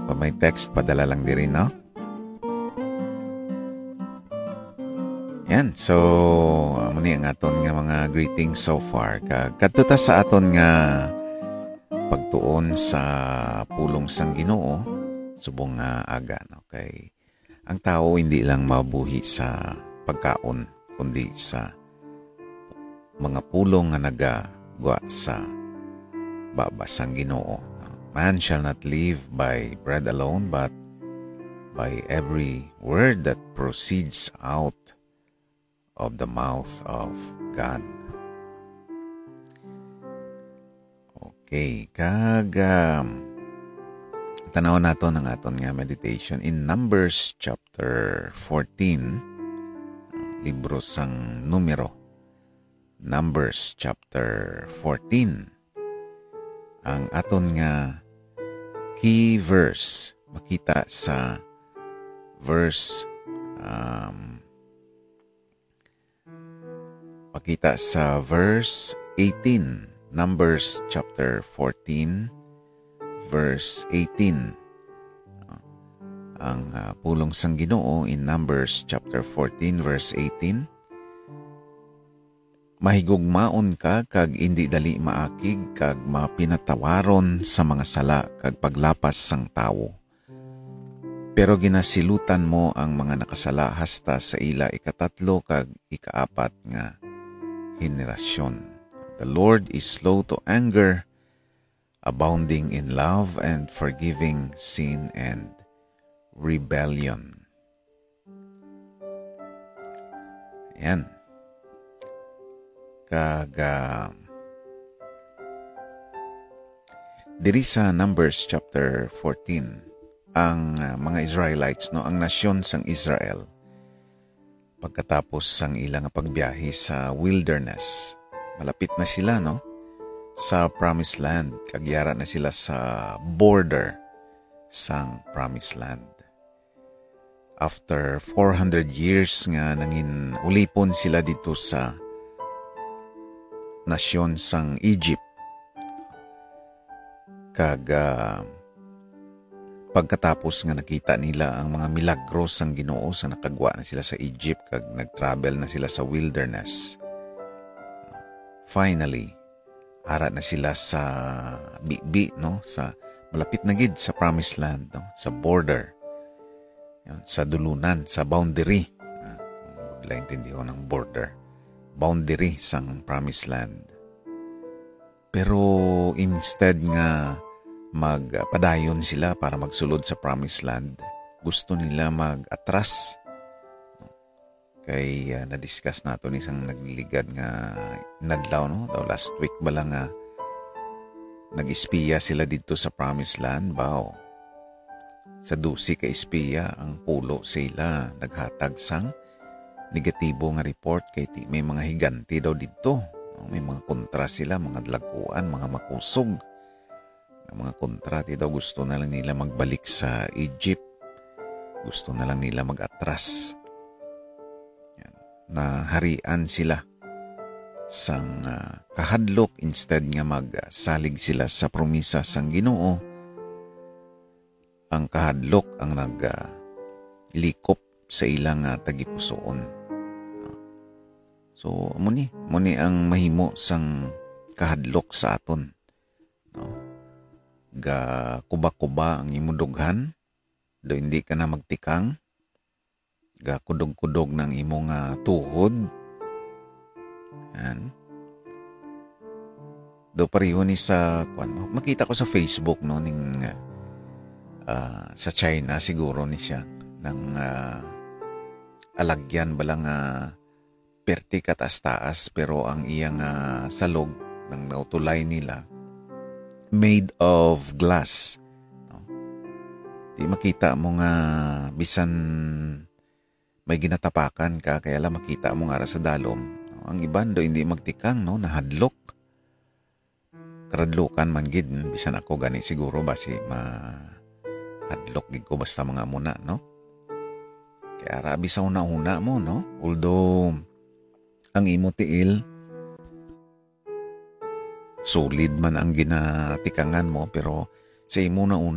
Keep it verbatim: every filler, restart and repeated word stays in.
Kung may text, padala lang diri, no? Yan. So, amo ni ang aton nga mga greetings so far. Kag kadto ta sa aton nga pagtuon sa pulong sang Ginoo subong nga aga, no? Kay ang tawo hindi lang mabuhi sa pagkaon, kundi sa mga pulong nga nagagwa sa baba sang Ginoo. "Man shall not live by bread alone, but by every word that proceeds out of the mouth of God." Okay, kag, um, tanaw nato ang aton nga meditation in Numbers chapter fourteen, libro sang Numero. Numbers chapter fourteen. Ang aton nga key verse makita sa verse, um, makita sa verse eighteen. Numbers chapter fourteen, verse eighteen. Ang, ah, pulong sang Ginoo in Numbers chapter fourteen, verse eighteen, "Mahigugmaon ka kag indi dali maakig kag mapinatawaron sa mga sala kag paglapas sang tawo. Pero ginasilutan mo ang mga nakasala hasta sa ila ikatatlo kag ikaapat nga henerasyon. The Lord is slow to anger, abounding in love, and forgiving sin and rebellion." Ayan. Kag, ah, diri sa Numbers chapter fourteen, ang, ah, mga Israelites, no, ang nasyon sang Israel, pagkatapos sang ila nga pagbiyahe sa wilderness, malapit na sila, no, sa promised land, kag yara na sila sa border sang promised land. After four hundred years nga nangin ulipon sila didto sa nasyon sang Egypt, kag, ah, pagkatapos nga nakita nila ang mga milagro sang Ginoo, sa nakagwa na sila sa Egypt kag nag-travel na sila sa wilderness, finally, ara na sila sa bibi, no? Sa malapit na gid sa promised land, no? Sa border. Yan, sa dulunan, sa boundary. Ah, kung wala intindihon ang border. Boundary sang promised land. Pero instead nga magpadayon sila para magsulod sa promised land, gusto nila mag-atras. Kay, ah, na-discuss nato ni sang nagligad nga inadlaw, no? Daw last week bala nga nag-espiya sila didto sa Promised Land, baw. Sa dose ka espiya, ang pulo sa ila naghatag sang negatibo nga report kay ti-, may mga higante daw didto, no? May mga kontra sila, mga dalaguan, mga makusog. Ang mga kontra, ti daw gusto na lang nila magbalik sa Egypt. Gusto na lang nila mag-atras. Yan. Naharian sila sang, ah, kahadlok instead nga magsalig sila sa promisa sang Ginoo. Ang kahadlok ang nag, ah, likop sa ilang, ah, tagipusoon. So, amo ni, amo ni ang mahimo sang kahadlok sa aton, no? Gakuba-kuba ang imo dughan, daw hindi ka na magtikang. Gakudog-kudog na ang imo nga tuhod. Yan. Daw pareho ni sa, kwan, makita ko sa Facebook, no, ning, ah, sa China siguro ni siya, nang, ah, alagyan bala nga perti kataas-taas, pero ang iya nga salog, nang nautulay nila, made of glass, no? Di makita mo nga bisan may ginatapakan ka, kaya lang makita mo nga ra sa dalom, no? Ang iban do hindi magtikang, no? Nahadlok. Karadlukan man gid, bisan ako gani siguro basi mahadlok gid ko basta mga muna, no? Kaya ra, abi sa una-una mo, no? Although, ang imo tiil, solid man ang ginatikangan mo, pero sa imo na una,